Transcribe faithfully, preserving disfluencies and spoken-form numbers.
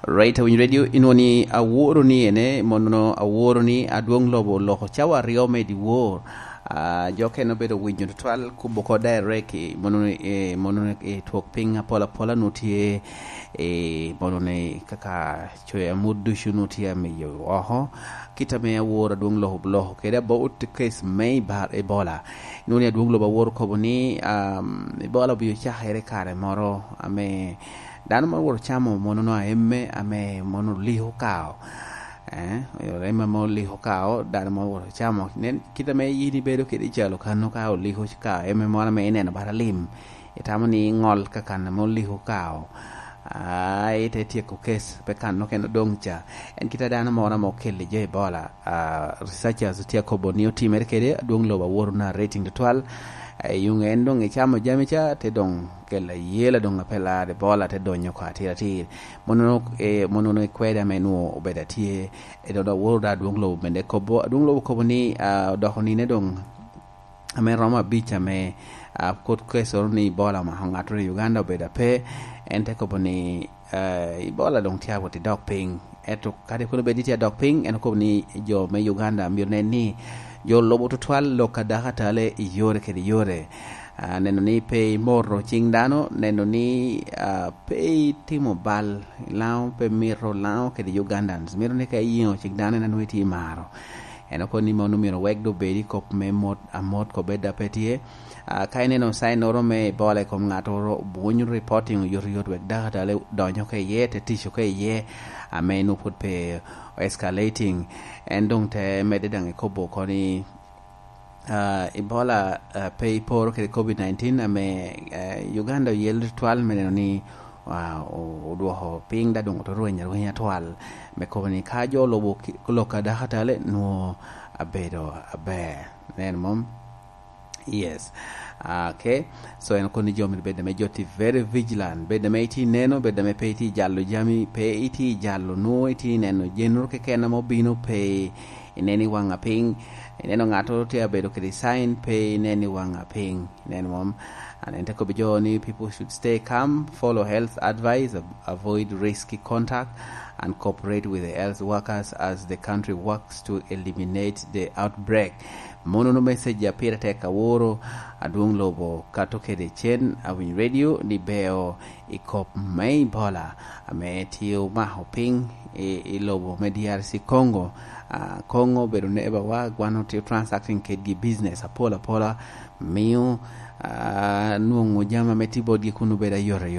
Right, Awiny Radio inwoni aworo ni ene mono aworo ni adwong lobo loko cawa aryo me dyewor uh, jo kene obedo winyo tutwal kubo ko direct mono e mono e twok piny apola apola nu tye e mono ne kaka coyo amut ducu nu tye amiyo oko kita me aworo adwong lobo loko kede about case me bar Ebola nuni adwong lobo aworo kobo ni um, Ebola obiyo cakere kare moro ame dano ma woro camo mono no aemme ame mono liho kao eh ema mo liho kao dano mo woro camo nen kita me yini bedo kede calo kano ka oliho kao eme moro me ineno bara lim itamo ni ngol kaka mo liho kao ai te tieko kes pe kan no kendo dong cha en kita dano moro mo kele je Ebola uh, researchers tie kobo ni otimere kede adwong lobo aworo na rating twal yung en dong ichamo jami cha te dong kela yela dong apela Ebola te donyo ko atir atir mono e mono no kweda me nuo obeda tie e do aworo da adwong lobo bende kobo adwong lobo kobo ni uh, doko ni ne dong ame romo abic ame uh, kot keso ni Ebola ma ng'ato i Uganda obedo pe en te kobo ni uh, Ebola dong tia wot idok piny eto kadi kono bedi tia dok piny en kobo ni jo me Uganda myero nen ni jo lobo tutwal lok adaka tale i yore kede yore uh, neno ni pe imoro cing dano neno ni uh, pe itimo bal lao pe miro lao kede Ugandans miro ni ka iyingo cing dano en anwe ti imaro en oko ni mono myero wek do bedi kop me mot amot ko beda pe tye uh, ka ineno sign oro me Ebola i kom ng'ato oro bunyo reporting yot yot wek daka tale donyo ke iye te tico ke iye ame nu pud pe escalating en dong te mede dang i kobo koni uh, Ebola uh, pe iporo kede COVID nineteen ame uh, Uganda oyel twal me neno ni uh, odwoko piny da dong otorweny arwenya twal me kobo ni ka jo lobo lok adaka tale nuo abedo aber nen mom. Yes. Uh, okay. So en koni jo mi bed me joti very vigilant. Bed me iti neno, bed me pe iti jalo jami, pe iti jalo no iti neno jenro kekena mo bino pe ineni wanga piny. Ineno ng'ato te abedo kede sign pe ineni wanga piny. Neno mom. And ente ko bijo ni people should stay calm, follow health advice, avoid risky contact, and cooperate with the health workers as the country works to eliminate the outbreak. Mono no message ya Peter Tek aworo adwong lobo kato kede chen Awiny Radio ni beo ikop me Ebola ame tiyo maho piny e, e lobo me D R C Congo. Uh, Congo bedo ne eba wa gwano tiyo transacting kedgi business apola apola miyo uh, nuongo jama me tibodgi kunu beda yore yore.